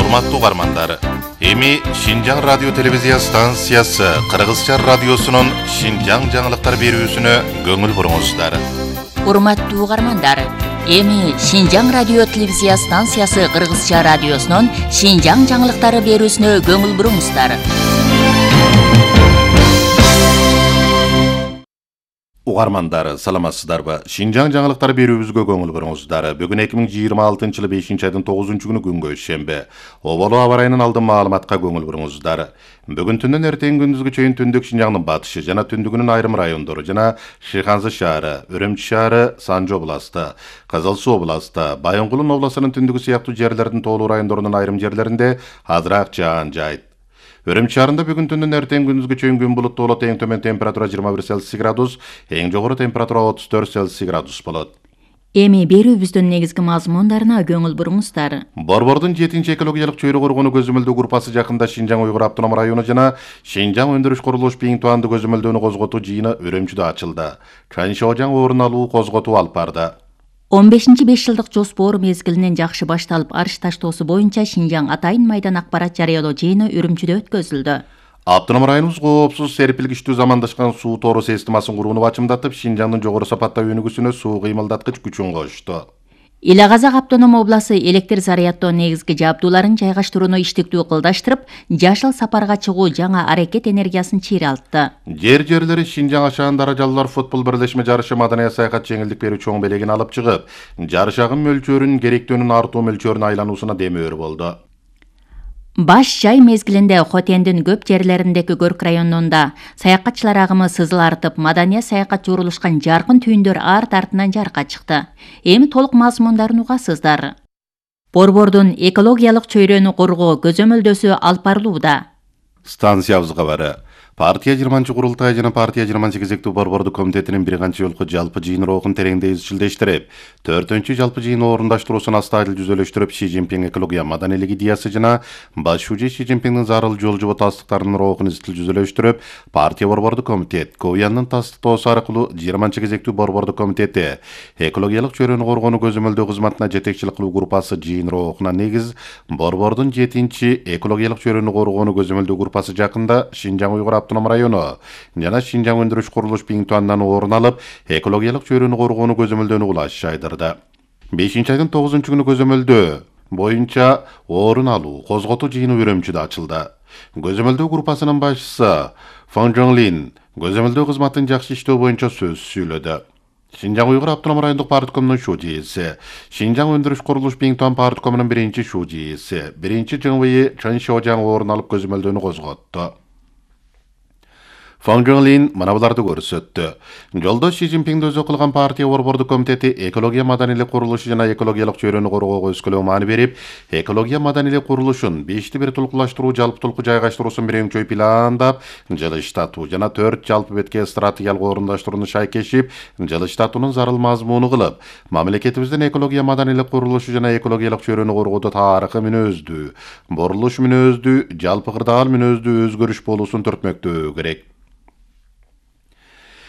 Урматтуу угармандар, эми Шинжаң радио телевизия станциясы Кыргызча радиосунун Шинжаң жаңылыктар берүүсүнө көңүл буруңуздар. Урматтуу угармандар, эми Шинжаң радио телевизия станциясы Кыргызча радиосунун Шинжаң жаңылыктары берүүсүнө көңүл буруңуздар. Угармандар, саламатсыздарбы? Шинжаң жаңылыктар берүүбүзгө көңүл буруңуздар. Бүгүн 2026-жылы 5-айдын 9-күнү күнгө шембе. Оболу аба ырайынын алдын маалыматка көңүл буруңуздар. Бүгүн түндөн эртең күндүзгү чейин түндүк Шинжаңдын батышы жана түндүгүнүн айрым райондору жана Шыйханзы шаары, Өрөмчү шаары, Санжы областы, Кызыл Суу областы, Байонгулун областынын түндүгү сыяктуу жерлердин тоолуу райондорунун айрым жерлеринде азыраак жаан жайт. Өрөмчү шаарында бүгүн түндүн эртең күндүзгү чейин күн булуттуу болот, эң төмөн температура 21 Цельсий градус, эң жогору температура 34 Цельсий градус болот. Эми берүүбүздүн негизги мазмундарына көңүл буруңуздар. Борбордун 7-чи экологиялык чөйрө коргонуу көзөмөлдөө группасы жакында Шинжаң Уйгур автоном району жана Шинжаң өндүрүш курулуш бийинтуанды көзөмөлдөөнү козготуу жыйыны Өрөмчүдө ачылды. Чаншожаң орун алуу козготуу алып барды. 15-5 жылдык жоспор мезгилинен жакшы башталып, арыш таштоосу боюнча Шинжаң атайын майдан акбарат жарыялоо жыйыны Үрүмчүдө өткөзүлдү. Автоном районубуз коопсуз серпилгичтүү замандашкан суу тору системасын курууну бачымдатып, Шинжаңдын жогору сапаттуу өнүгүүсүнө суу кыймылдаткыч күчүн кошту. Ила Казак автоном обласы электр заряддоо негизги жабдууларын жайгаштырууну иштиктүү кылдаштырып, жашыл сапарга чыгуу жаңа аракет энергиясын чыйралтты. Жерлери Шинжаң ашаан даражалуулар футбол бирлешме жарышы маданий саякат жеңилдик берүү чоң белегин алып чыгып, жарышагын мөлчөрүн керектөөнүн артуу мөлчөрүнө айлануусуна демөөр болду. Баш жай мезгилинде Хотендин көп жерлериндеги көрк районунда саякатчылар агымы сызыл артып, маданий саякатчы урулушкан жаркын түйүндөр арт-артынан жарыкка чыкты. Эми толук мазмундарын угасыздар. Борбордун экологиялык чөйрөнү коргоо көзөмөлдөөсү алып барылууда. Станциябыз кабары. Партия 20-чы курултай жана партия 28-эктүү борбордук комитетинин бир канча жолку жалпы жыйын роохун тереңдей изчилдештирип, 4-чү жалпы жыйын орундаштыруусун астайыл жүзөлөштүрүп, Ши Цзиньпин экология маданийлик идеясы жана баш шужи Ши Цзиньпиндин зарыл жол жобо тастыктарынын роохун изчил жүзөлөштүрүп, партия борбордук комитет Ковьяндын тастыктоосу аркылуу 20-чы борбордук комитети экологиялык чөйрөнү коргонуу көзөмөлдөө кызматына жетекчилик кылуу группасы жыйын роохуна негиз борбордун 7-чи экологиялык чөйрөнү коргонуу көзөмөлдөө группасы жакында Шинжаң Уйгур автоном району жана Шинжаң өндүрүш курулуш бийинтуанынан орун алып, экологиялык чөйрөнү коргонуу көзөмөлдөөнү кулаш жайдырды. 5-айдын 9-күнү көзөмөлдөө боюнча орун алуу козготуу жыйыны Өрөмчүдө ачылды. Көзөмөлдөө группасынын башчысы Фан Жоңлин көзөмөлдөө кызматын жакшы иштөө боюнча сөз сүйлөдү. Шинжаң Уйгур автоном райондук парткомунун шужиси, Шинжаң өндүрүш курулуш бийинтуан парткомунун биринчи шужиси, биринчи ЖМВ Чаншожаң орун алып көзөмөлдөөнү козготту. Фан Жоңлин мына буларды көрсөттү. Жолдош Ши Цзиньпиндин өзү кылган партия борбордук комитети экология маданийлик курулушу жана экологиялык чөйрөнү коргоого өскөлөң маани берип, экология маданийлик курулушун 5-ти бир толкулаштыруу жалпы толку жайгаштыруусун бир өңчөй пландап, жылыштатуу жана 4 жалпы бетке стратегиялык орундаштырууну шайкешип, жылыштатуунун зарыл мазмуну кылып, мамлекетибиздин экология маданийлик курулушу жана экологиялык чөйрөнү коргоодо тарыхый мүнөздүү, бурулуш мүнөздүү, жалпы кырдаал мүнөздүү өзгөрүш болуусун түртмөктөө керек.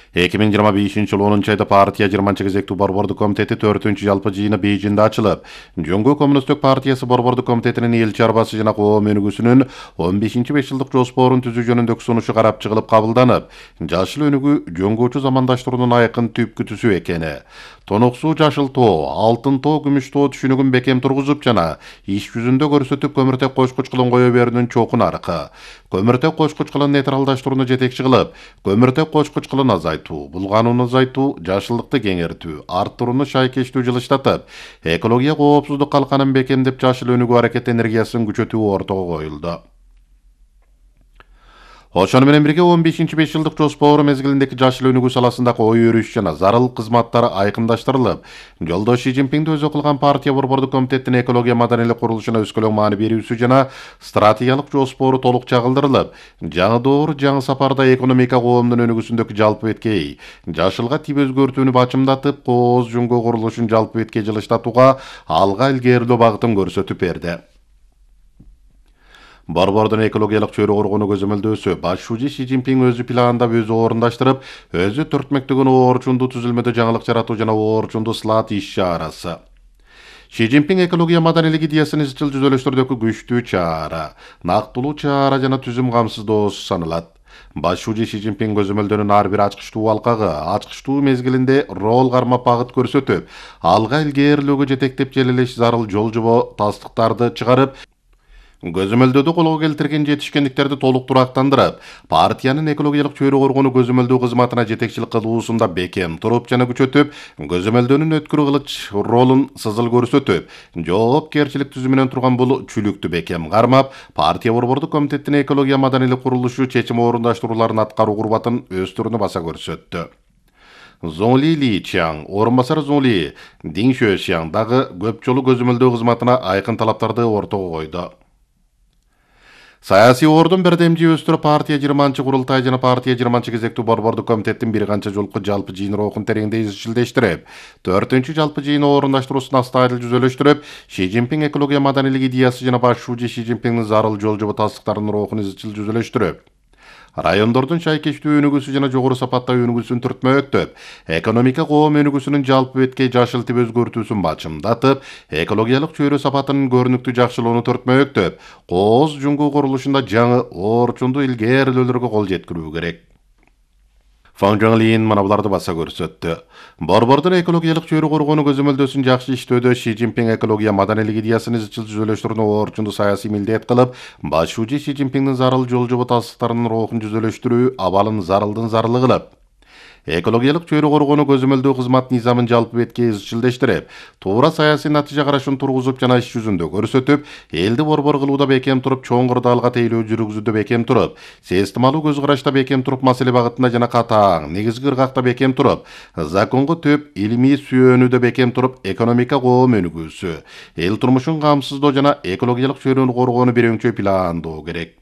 2025-жылы 10-айда партия 20-чы борбордук комитети 4-чү жалпы жыйыны Бейжиңде ачылып, Жоңгу коммунисттик партиясы борбордук комитетинин эл чарбасы жана коом өнүгүүсүнүн 15-5 жылдык жоспорун түзүү жөнүндөгү сунушу карап чыгылып кабылданып, жашыл өнүгүү жөнгөчү замандаштыруунун айкын түпкү түсү экени, тонок суу жашыл тоо, алтын тоо, күмүш тоо түшүнүгүн бекем тургузуп жана иш жүзүндө көрсөтүп көмүртек кошкуч кылын кое берүүнүн чокун аркы, көмүртек кошкуч кылын нейтралдаштырууну жетекчи кылып, көмүртек кошкуч кылын азайтуу, булганууну азайтуу, жашылдыкты кеңейтүү, арттырууну шайкештүү жылыштатып, экология коопсуздук калканын бекемдеп жашыл өнүгүү аракет энергиясын күчөтүү ортого коюлду. Ошону менен бирге 15-5 жылдык жоспор мезгилиндеги жашыл өнүгүү саласындагы ой өрүш жана зарыл кызматтар айкындаштырылып, жолдош Ши Цзиньпиндин өзү кылган партия борбордук комитеттин экология маданийлик курулушуна өскөлөң маани берүүсү жана стратегиялык жоспору толук чагылдырылып, жаңы доор, жаңы сапарда экономика коомдун өнүгүүсүндөгү жалпы беткей жашылга тип өзгөртүүнү бачымдатып, кооз жөнгө курулушун жалпы бетке жылыштатууга алга илгерилөө багытын көрсөтүп берди. Борбордун экологиялык чөйрө коргонуу көзөмөлдөөсү баш шужи Ши Цзиньпин өзү пландап, өзү орундаштырып, өзү түртмөктөгөн орчундуу түзүлмөдө жаңылык жаратуу жана орчундуу слат иш чарасы. Ши Цзиньпин экология маданилик идеясын изчил жүзөлөштөрдөгү күчтүү чара, нактылуу чара жана түзүм камсыздоосу саналат. Баш шуужи Ши Цзиньпин көзөмөлдөрүнүн ар бир ачкычтуу алкагы ачкычтуу мезгилинде рол кармап багыт көрсөтүп, алга илгээрлөөгө жетектеп желелеш зарыл жол жобо тастыктарды чыгарып, көзөмөлдөөдө колго келтирген жетишкендиктерди толук турактандырып, партиянын экологиялык чөйрө коргонуу көзөмөлдөө кызматына жетекчилик кылуусунда бекем туруп жана күчөтүп, көзөмөлдөөнүн өткүр кылыч ролун сызыл көрсөтүп, жоопкерчилик түзүмүнөн турган бул чүлүктү бекем кармап, партия борбордук комитеттин экология маданилик курулушу чечим орундаштырууларын аткаруу курбатын өстүрүүнү баса көрсөттү. Зоңли Ли Чаң, орун басар Зоңли Дин Шөшяң дагы көп жолу көзөмөлдөө кызматына айкын талаптарды ортого койду. Саясий ордун бердемжи өстүрүп, партия 20 курултай жана партия 20 кезектүү борбордук комитеттин бир канча жолку жалпы жыйын рухун тереңдей изчилдештирип, 4 жалпы жыйын орундаштыруусун астайыл жүзөлөштүрүп, Ши Цзиньпин экология маданилик идеясы жана баш шуужи Ши Цзиньпиндин зарыл жол жобо тастыктарынын рухун изчил жүзөлөштүрүп, райондордун шайкечтүү өнүгүүсү жана жогору сапаттагы өнүгүүсүн түртмөктөп, экономика коом өнүгүүсүнүн жалпы беткей жашыл тип өзгөртүүсүн бачымдатып, экологиялык чөйрө сапатынын көрүнүктүү жакшылоону түртмөктөп, кооз жуңгуу курулушунда жаңы орчундуу илгээрлөөлөргө кол жеткирүү керек. Фан Жоңлин мына буларды баса көрсөттү. Борбордун экологиялык чөйрө коргонуу көзөмөлдөөсүн жакшы иштөөдө Ши Цзиньпин экология маданилик идеясын изчил жүзөлөштүрүүнү орчундуу саясий милдет кылып, баш шуужи Ши Цзиньпиндин зарыл жол жобо тастыктарынын рухун жүзөлөштүрүү абалын зарылдын зарлы кылып, экологиялык чөйрө коргонуу көзөмөлдөө кызмат низамын жалпы бетке изчилдештирип, туура саясий натыйжа карашын тургузуп жана иш жүзүндө көрсөтүп, элди борбор кылууда бекем туруп, чоң кырдаалга тейлөө жүргүзүүдө бекем туруп, системалуу көз карашта бекем туруп, маселе багытында жана катаң негизги ыргакта бекем туруп, законго төп илимий сүйөөнүүдө бекем туруп, экономика коом өнүгүүсү, эл турмушун камсыздоо жана экологиялык чөйрөнү коргоону бир өңчөй пландоо керек.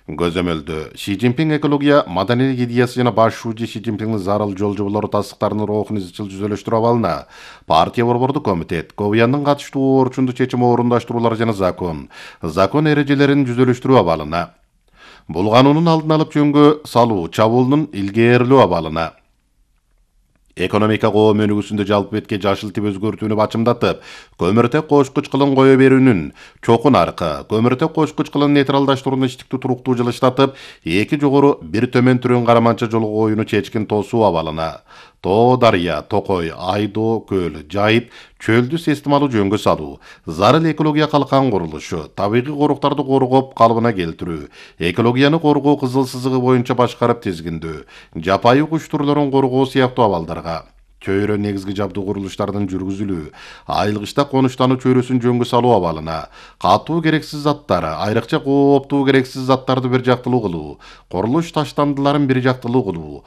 Көзөмөлдө Ши Цзиньпин экология маданилик идеясы жана баш шуужи Ши Цзиньпиндин зарыл жол жоболору тастыктарынын рухун изчил жүзөлөштүрүү абалына партия борбордук комитет, КОВЯндын катыштуу орчундуу чечим орундаштыруулары жана закон эрежелерин жүзөлөштүрүү абалына, бул канундун алдын алып жөнгө салуу чабуулунун илгээрлөө абалына, экономика коом өнүгүүсүндө жалпы бетке жашыл тип өзгөртүүнү бачымдатып, көмүртек кошкуч кылын кое берүүнүн чокун аркы, көмүртек кошкуч кылын нейтралдаштырууну иштиктүү туруктуу жылыштатып, эки жогору бир төмөн түрөн караманча жолго коюуну чечкин тосуу абалына, Тоо дарыя, Токой, Айдоо көл, Жайып чөлдү системалуу жөнгө салуу, зарыл экология калкан курулушу, табигый коруктарды коргоп калыбына келтирүү, экологияны коргоо кызыл сызыгы боюнча башкарып тизгиндөө, жапайы куш түрлөрүн коргоо сыяктуу абалдарга, чөйрө негизги жабдуу курулуштардын жүргүзүлүү, айылгычта конуштануу чөйрөсүн жөнгө салуу абалына, катуу керексиз заттар, айрыкча кооптуу керексиз заттарды бир жактылуу кылуу, курулуш таштандыларын бир жактылуу кылуу,